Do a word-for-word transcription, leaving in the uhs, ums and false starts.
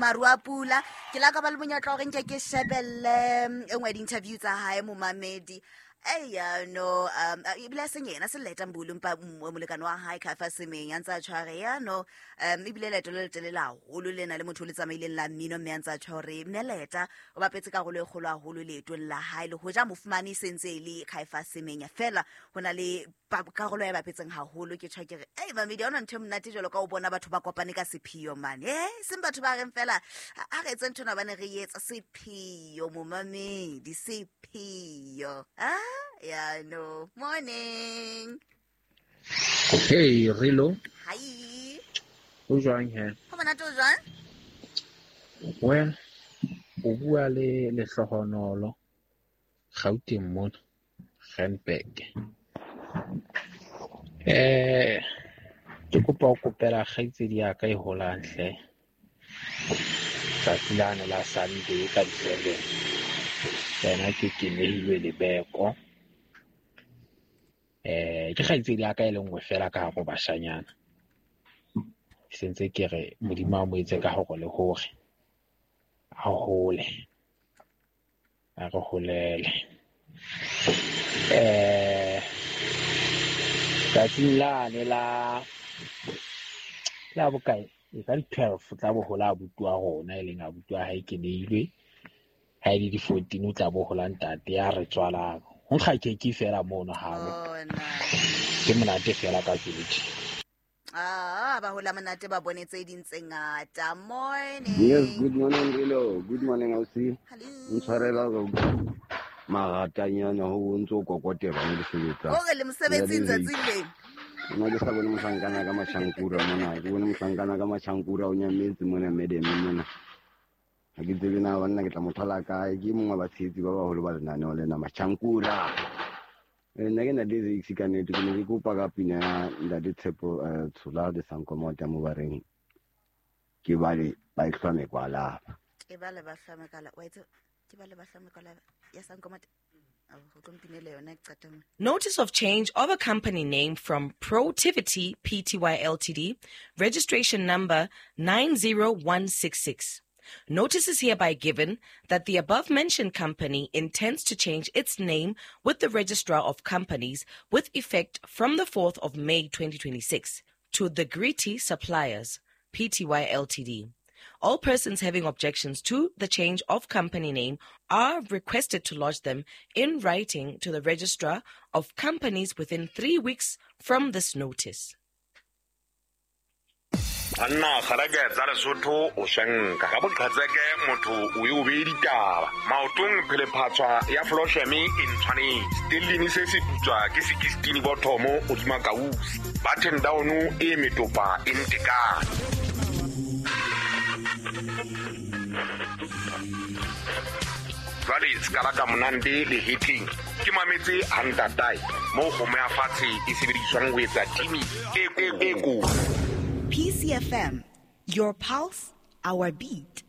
Maru a pula. Ke la ka ba le monyetla hore nke ke shebelle e nngwe di-interview tsa hae momamedi. Eya no um ebile a seng yena se Letta Mbulu mpa molekane wa hae Caiphus Semenya a ntse a tshware ya no um ebile leeto le letelele haholo lena le motho o le tsamaileng la mmino mme a ntse a tjho hore mme Letta o bapetse karolo e kgolo haholo leetong la hae le hoja mo fumane e sentse e le Caiphus Semenya fela ho na le karolo ya bapetseng haholo. Ke tjho ke re ei mamedi ha hona ntho e monate jwalo ka o bona batho ba kopane ka sepheo mane eh seng batho ba reng fela a re etse ntho ena bane re etsa sepheo momamedi sepheo. Ah yeah no morning. Hey Rilo. Hi. O jwang he? Ho monate o jwang? Well, o bua le Lehlohonolo Gauteng mona, Randburg. Eh, ke kopa ho kopela kgaitsedi ya ka e holang hle. Tsatsi lane la Sunday ka di-seven. Yena ke kenehilwe lebeko. Eh, ke kgaitsedi ya ka e le nngwe fela ka hare ho bashanyana. Sentse ke re Modimo a mo etse ka hore le hore a hole, a re holele. Eh, tsatsing lane la la bokae e ka di-twelve tla bo hola abuti wa rona e leng abuti wa hae Keneilwe. Ha e le di-fourteen o tla bo hola ntate ya re tswalang. Ho nkga keke fela mono habo. Ke monate fela ka tsela. Ah, ba hola monate ba bone tse ding tse ngata. Morning. Yes, good morning Rilo. Good morning ausi. Hello. Ntshwarela ka maratanyana ho ntso kokotela mo disebetsa. O re le mosebetsing tsatsing le. Nna ke sa bone mohlankana ka machankura mona. Ke bone mohlankana ka machankura o nyametse mona medeme mona. Ha ke tsebe na banna ke tla mo thola kae. Ke mongwe wa batshehetsi ba baholo ba lenaneo lena machankura. Nna ke na le Zakes ka nnete, ke ne ke kopa ka pina ya Ntate Tshepo Tshola le Sankomota mo bareng ke bale ba e hlwa mekwalaba. Ke bale ba hlwa mekwalaba. Wa itse ke bale ba hlwa mekwalaba ya Sankomota. Notice of change of a company name from Protivity P T Y L T D, registration number nine zero one six six. Notice is hereby given that the above-mentioned company intends to change its name with the Registrar of Companies with effect from the fourth of May twenty twenty-six to the Gritty Suppliers P T Y L T D. All persons having objections to the change of company name are requested to lodge them in writing to the Registrar of Companies within three weeks from this notice. Anna kgareke tsa Lesotho o shenka ka boqhetseke motho o e o be ditaba maotong phelephatswa ya Flosheme e ntshwanetse stellini se se putswa ke sixteen bothomo o dima kausi button down e metopa e ntekane. Jwale ska la ka monande le hitting ke mametse hantatai mo kgomo ya fatshe e sebediswang ho etsa timi e e ko. P C F M, your pulse, our beat.